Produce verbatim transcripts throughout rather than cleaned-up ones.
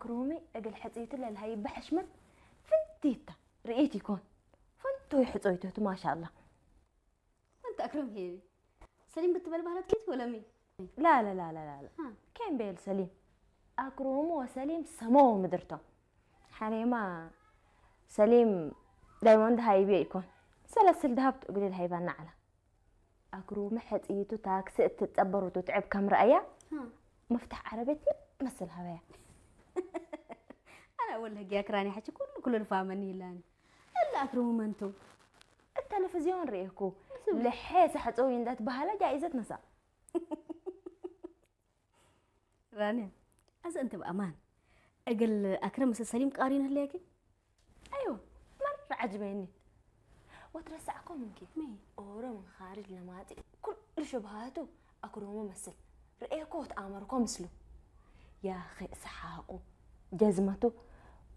ሮሚ እግል ሕጽይቱ ለልሀይበ ሕሽመት ፍንቲት ተ፣ ርኢት ኢኮን። ፍንቱይ ሕጾይቱ ቱ ማሻአላህ። ወንተ አክረም ሄቢ ሰሊም ብትበል ባህለት ኪት ወለሚ? ላ፣ ላ፣ ላ፣ ላ፣ ላ፣ ላ። አ። ኬን ቤል ሰሊም? አክሮሙ ወሰሊም ሰመው ምድር ቶም። ሐኔማ ሰሊም ዳይሞንድ ሃይቤ ኢኮን። ሰለስል ደሀብ ቱ እግል ልሀይባና ዐለ። አክሮሙ ሕጽይቱ ታክሲ እት ትጸበሩ ትትዕብ ከም ረአያ፣ አ። መፍታሕ ዐረቤት ምን መስል ሀበያ። አነ አወል ህግያክ ራኒ ሐቺ ኩሉ፣ ኩሉ ልፋመኒ ይላኒ። እለ አክሮሙ መን ቱ? እት ተለፍዝዮን ርኤኩ። ልሔ ሰሕጾይ እንዴ ትበሀለ ጃኢዘት ነሳ። ራንያ፣ አዜ እንቲ በአማን እግል አክረም ምስል ሰሊም ቃሪን ህሌኪ? አይወ፣ መረ ዐጅበኒ። ወትረሳዕኮ ምንኪ? ሚ? ኦሮ ምን ካርጅ ለማጺ ኩሉ ሽብሃቱ አክሮሙ መስል ርኤኮ ወተአመርኮ ምስሉ። ያኺ ሰሓቁ፣ ጀዝመቱ፣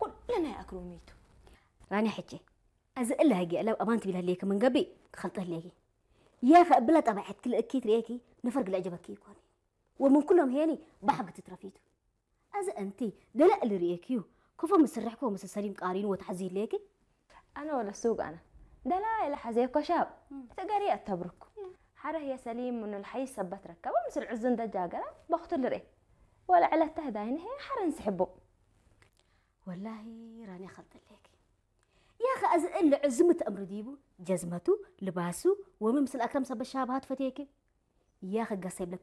ኩሉ ናይ አክሮሚቱ። ራንያ ሕቼ፣ አዜ እለ ህግየ እለ አማን ትቢል ህሌኪ ምን ገብእ ክከልጦ ህሌኪ። ያኸ እብለ ጠበዐትኪ ለእኪት ርኤኪ ነፈር ግለ ዐጀበኪ ኢኮኒ። ወምን ኩሎም ሄኒ በሐግ ትትረፊቱ። አዜ እንቲ ደለ እሊ ርኤክዩ፣ ከፎ ምስል ርሕኮ ምስል ሰሊም ቃሪኑ ወተሐዚ ህሌኪ? አነ ወለ ሱግ አነ። ደለ እለ ሐዜኮ ሻብ፣ እም። እት ገሪ አተብርኩ። እም። ሐረ ህየ ሰሊም ምኑ ለሐይስ ሰበት ረከበ ምስል ዕዙ እንዴ ጃገረ በክቱ ልርኤ። ወለ ዕለት ተህዳይነ ህየ ሐረ እንስሕቡ። ወላሂ ራንያ ከልጠ ህሌኪ። ያኸ አዜ እሊ ዕዙ ሚ ተአምሩ ዲቡ፣ ጀዝመቱ፣ ልባሱ፣ ወሚ ምስል አክረም ሰበት ሻብሃት ፈቴኪ። ያኸ ገሰ ይብለኪ